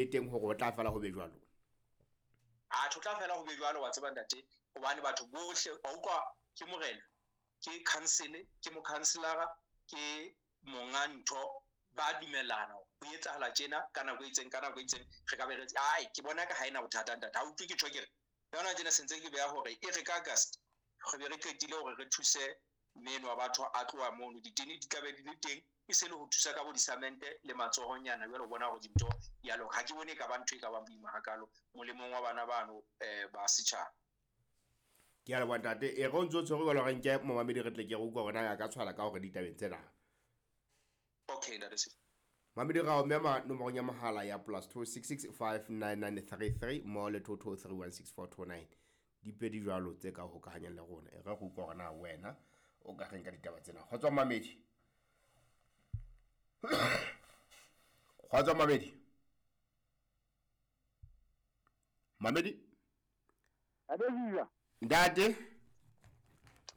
Teng hore o tla fela ho be jwalo. Atjhe, o tla fela ho be jwalo, wa tseba ntate, hobane batho bohle wa utlwa, ke morena, ke council, ke mokhanselara, ke monga ntho, ba dumellana ho etsahala tjena ka nako e itseng, ka nako e itseng re ka be re, ai ke bona ka ha ena bothata ntate. Ha utlwe ke tjho ke re yona tjena sentse ke beha hore e re ka August re be re qetile hore re thuse meno wa batho a tloha mono, ditene di tla be di le teng, e se le ho thusa ka bo disamente le matsohonyana. Jwale o bona hore dintho di a loka. Ha ke bone e ka ba ntho e ka bang boima hakalo molemong wa bana bano ba setjhaba. Ke a leboha ntate. E re o ntso tshwere jwalo, re nke momamedi re tle ke re utlwa hore na ya ka tshwala ka hore ditabeng tsena. Okay ntate Sefo. Mamedi ra o mema nomorong ya mohala ya +266 59933 mmoho le 22316429. Dipedi jwalo tse ka hokahanyang le rona. E re re utlwa hore na wena o ka reng ka ditaba tsena. Kgotso mamedi. Kgotso mamedi. Mamedi. Adesisa. Ntate.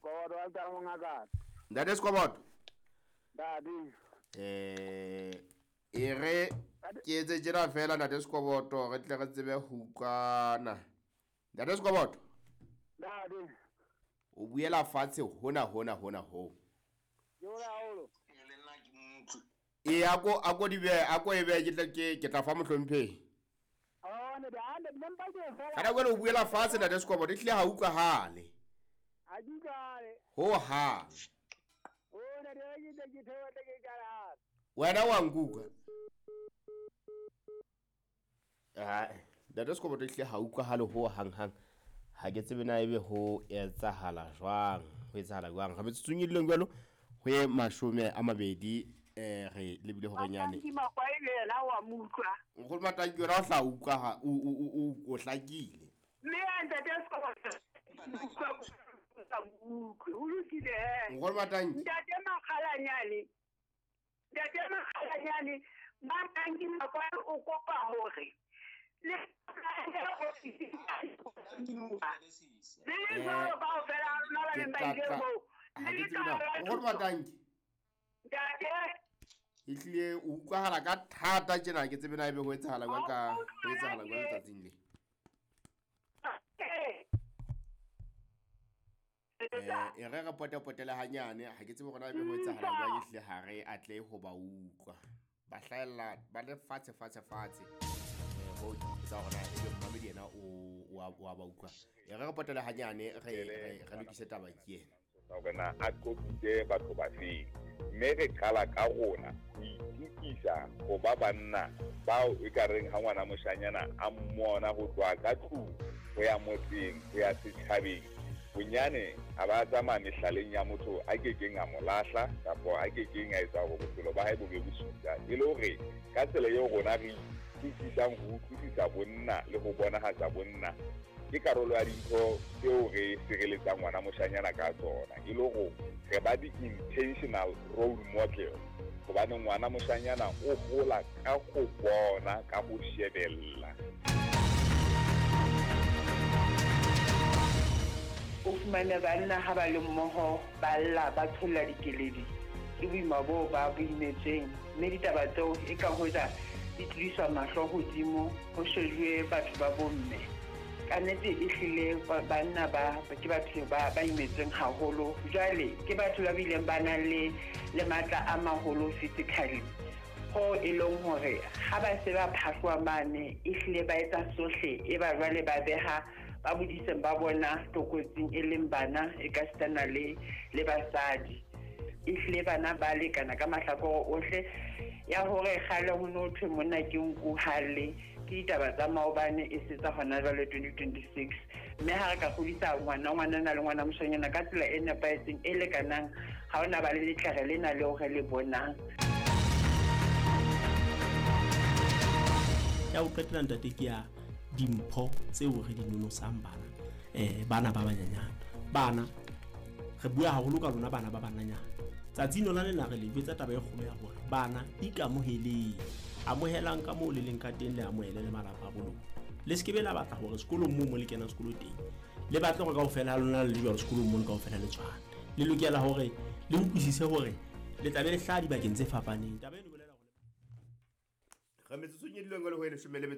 Koboto wa tsa mongaka. Ntate Skoboto. Ntate. E re ke etse tjena fela ntate Skoboto, re tle re tsebe ho utlwana. Ntate Skoboto. Ntate. O buela fatshe hona hona hona ho. Ke hole haholo. Le nna ke mmutlwe. E ako di behe, ako e behe, ke tla ke tla fa mohlomphehi. Oh, ne ande nna ke fela. Kana kwena o buela fatshe ntate Skoboto, ehlile ha utlwahale. Ha ke utlwahale. Ho hang. O ne ke tle ke theohe tle ke qala. Wena wa nkuka. Ah, ntate Skoboto ehlile ha utlwahale ho hang hang. Ha ke tsebe na ebe ho etsahala jwang, ho etsahala jwang. Re metsotsong e dileng jwalo ho ye 20, re lebile hore nyane. Matanki Makwai le yena wa mo utlwa. Nkgono Matanki yena o hla utlwa ha o hlakile. Mme ya ntate Skoboto, utlwe, ho lokile he. Nkgono Matanki. Ntate Makgalanyane. Ntate Makgalanyane, Matanki Makwai o kopa hore le le jwalo kaofela ha rona ba neng ba ile moo. Ha ke tsebe na. Nkgono Matanki. Ntate. Ehlile o utlwahala ka thata tjena, ha ke tsebe na ebe ho etsahala jwang ka, ho etsahala jwang letsatsing le. E re re potepotele hanyane, ha ke tsebe hore na ebe ho etsahala jwang, ehlile ha re atlehe ho ba utlwa. Ba hlahella ba le fatshe fatshe fatshe. Ho etsa hore na ebe momamedi yena o a ba utlwa. E re re potele hanyane, re lokise taba ke ena. Hore na a qobitse batho ba feng, mme re qala ka rona ho itukisa ho ba banna bao e ka reng ha ngwana moshanyana a mmona ho tloha ka tlung ho ya motseng ho ya setjhabeng, bonyane a ba tsamaya mehlaleng ya motho a kekeng a mo lahla kapa a kekeng a etsa hore bophelo ba hae bo be bosula. E le hore ka tsela eo rona re itukisang ho utlwisisa bonna le ho bonahatsa bonna, ke karolo ya dintho tseo re sireletsang ngwana moshanyana ka tsona, e le hore re ba di-intentional role model, hobane ngwana moshanyana o hola ka ho bona, ka ho shebella. O fumane banna ha ba le mmoho, ba lla, ba tsholla dikeledi, ke boima boo ba bo imetsweng, mme ditaba tseo e ka hoja di tlodiswa mahlo hodimo, ho shejuwe batho ba bomme. Ka nnete ehlile banna ba ke batho ba imetsweng haholo. Jwale ke batho ba bileng ba nang le matla a maholo physically, ho e leng hore ha ba se ba phahloha mane, ehlile ba etsa sohle, e ba jwale ba beha ba bodiseng ba bona tlokotsing, e leng bana e ka sitana le basadi. Ehlile bana ba lekana ka mahlakore ohle. Ya hore kgale ho no thwe monna ke nku halle, ke ditaba tsa maobane e se tsa hona jwale 2026. Mme ha re ka kgodisa ngwana ngwanana le ngwana moshanyana ka tsela e nepahetseng e lekanang, ha hona ba le letlere lena leo re le bonang. Ya ho qetela ntate ke ya dimpho tseo re di nonosang bana, bana ba banyenyane. Bana re bua haholo ka lona bana ba bananyana. Tsatsing lona lena re le jwetsa taba e kgolo ya hore bana ikamoheleng, amohelang ka moo le leng ka teng, le amohele le malapa a bo lona. Le se ke be la batla hore sekolong moo mo le kenang sekolo teng, le batle hore kaofela ha lona le jwalo sekolong mono kaofela le tshwane. Le lokela hore le utlwisise hore le tla be le hlaha dibakeng tse fapaneng. Taba eno e bolela hore re Re metsotsong e dileng le ho e leshome le metso.